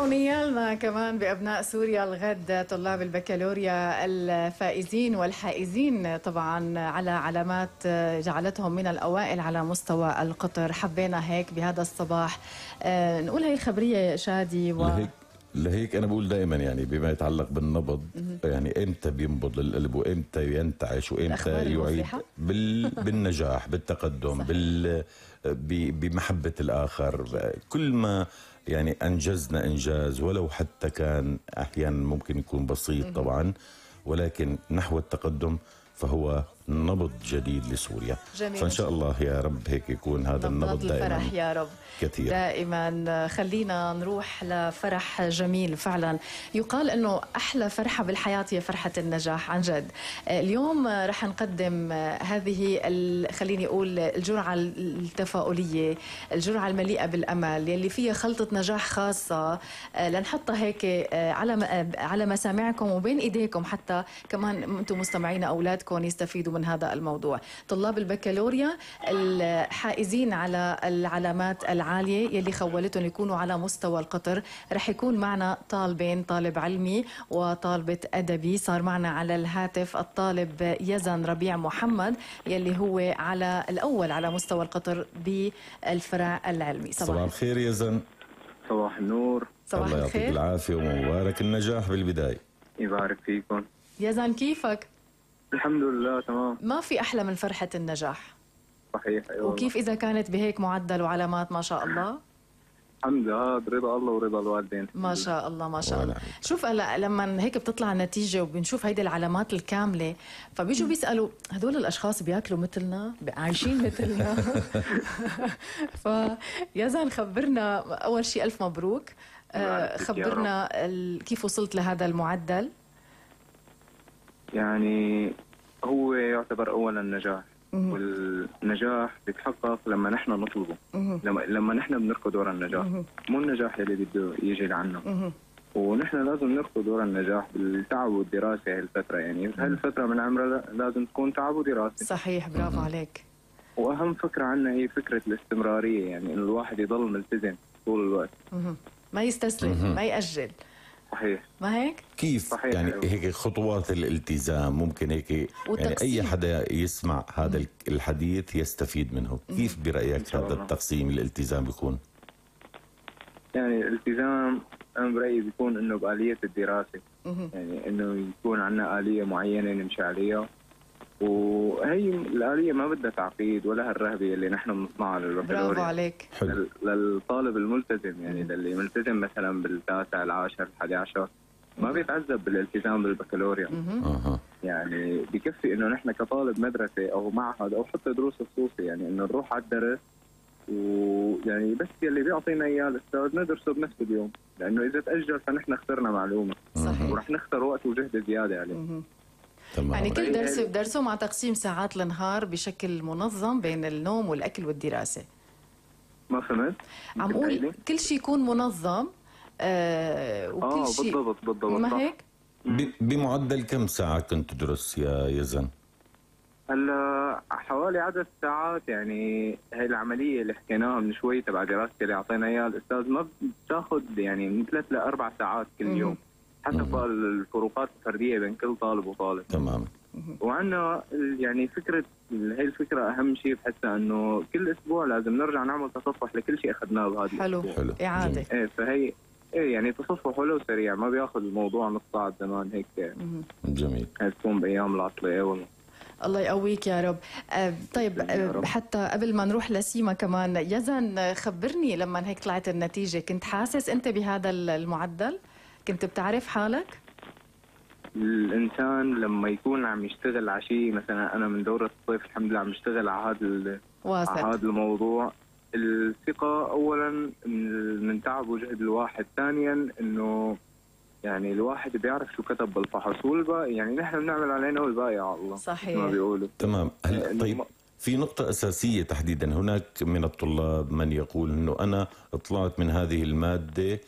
ونيالنا كمان بأبناء سوريا الغد طلاب البكالوريا الفائزين والحائزين طبعا على علامات جعلتهم من الأوائل على مستوى القطر. حبينا هيك بهذا الصباح نقول هاي الخبرية يا شادي لهيك أنا بقول دائما يعني بما يتعلق بالنبض يعني إمتى بينبض القلب وإمتى ينتعش وإمتى يعيد بالنجاح بالتقدم بمحبة الآخر. كل ما يعني أنجزنا إنجاز ولو حتى كان أحيانا ممكن يكون بسيط طبعا، ولكن نحو التقدم فهو نبض جديد لسوريا. جميل. فإن شاء الله يا رب هيك يكون هذا النبض دائما الفرح يا رب كثير. دائما خلينا نروح لفرح جميل. فعلا يقال أنه أحلى فرحة بالحياة هي فرحة النجاح عن جد. اليوم رح نقدم هذه خليني أقول الجرعة التفاؤلية، الجرعة المليئة بالأمل يلي فيها خلطة نجاح خاصة لنحطها هيك على مسامعكم وبين إيديكم حتى كمان أنتم مستمعين أولادكم يستفيدوا من هذا الموضوع. طلاب البكالوريا الحائزين على العلامات العالية يلي خولتهم يكونوا على مستوى القطر، رح يكون معنا طالبين، طالب علمي وطالبة أدبي. صار معنا على الهاتف الطالب يزن ربيع محمد يلي هو على الأول على مستوى القطر بالفرع العلمي. صباح الخير يزن. صباح النور. صباح الله الخير. يعطيك العافية ومبارك النجاح بالبداية. يبارك فيكم. يزن كيفك؟ الحمد لله تمام. ما في أحلى من فرحة النجاح. صحيح. أيوة. وكيف إذا كانت بهيك معدل وعلامات ما شاء الله؟ الحمد لله برضا الله ورضا الوالدين. ما شاء الله ما شاء الله. شوف هلا لما هيك بتطلع النتيجة وبنشوف هيدي العلامات الكاملة فبيجوا بيسألوا هدول الأشخاص بياكلوا مثلنا عايشين مثلنا فيزن خبرنا أول شيء ألف مبروك. خبرنا كيف وصلت لهذا المعدل. يعني هو يعتبر أولا نجاح، والنجاح بيتحقق لما نحن نطلبه، لما نحن بنركض ورا النجاح، مو النجاح اللي بده يجي لعنا. ونحن لازم نركض ورا النجاح بالتعب والدراسة هالفترة. يعني هالفترة من عمرنا لازم تكون تعب ودراسة. صحيح برافو عليك. وأهم فكرة عنا هي فكرة الاستمرارية، يعني إنه الواحد يضل ملتزم طول الوقت، ما يستسلم ما يأجل. صحيح. ما هيك؟ كيف صحيح. يعني هيك خطوات الالتزام ممكن هيك يعني أي حدا يسمع هذا الحديث يستفيد منه. كيف برأيك هذا التقسيم الالتزام بيكون؟ يعني الالتزام أنا برأيي بيكون إنه بآلية الدراسة، يعني إنه يكون عنا آلية معينة نمشي عليها، وهي الآلية ما بدها تعقيد ولا هالرهبة اللي نحن بنصنعها للبكالوريا. برافو عليك. للطالب الملتزم، يعني للي ملتزم مثلا بالتاسع العاشر 11 ما بيتعذب بالالتزام بالبكالوريا. يعني بكفي انه نحن كطالب مدرسة او معهد او حتى دروس خصوصي يعني انه نروح على الدرس ويعني بس يلي بيعطينا اياه الاستاذ ندرسه بنفس اليوم، لانه اذا تأجل فنحن خسرنا معلومة. صحيح. ورح نخسر وقت وجهد زيادة عليه. يعني كل درس بدرسه مع تقسيم ساعات النهار بشكل منظم بين النوم والأكل والدراسة. ما فهمت؟ عم قول كل شيء يكون منظم وكل شيء بالضبط. ما هيك؟ بمعدل كم ساعة كنت تدرس يا يزن؟ هلا حوالي عدد ساعات، يعني هاي العملية اللي حكيناها من شوي تبع دراستي اللي أعطينا إياها الأستاذ ما بتاخذ يعني من 3 ل 4 ساعات كل يوم، حتى الفروقات الفردية بين كل طالب وطالب. تمام. وعندنا يعني فكرة هي الفكرة أهم شيء بحسها إنه كل أسبوع لازم نرجع نعمل تصفح لكل شيء أخذناه بهذا الأسبوع. حلو. إعادة. فهي يعني تصفح حلو سريع، ما بياخذ الموضوع نص ساعة زمان هيك. جميل. تكون بأيام العطلة. الله يقويك يا رب. طيب حتى قبل ما نروح لسيما كمان يزن خبرني لما هيك طلعت النتيجة كنت حاسس أنت بهذا المعدل؟ كنت بتعرف حالك؟ الإنسان لما يكون عم يشتغل على شيء، مثلا أنا من دورة الصيف الحمد لله عم يشتغل على هذا الموضوع. الثقة أولا من تعب وجهد الواحد، ثانيا إنه يعني الواحد بيعرف شو كتب بالفحص والباقي يعني نحن بنعمل علينا والباقي على الله. صحيح. ما بيقولوا. تمام. طيب في نقطة أساسية تحديدا، هناك من الطلاب من يقول إنه أنا طلعت من هذه المادة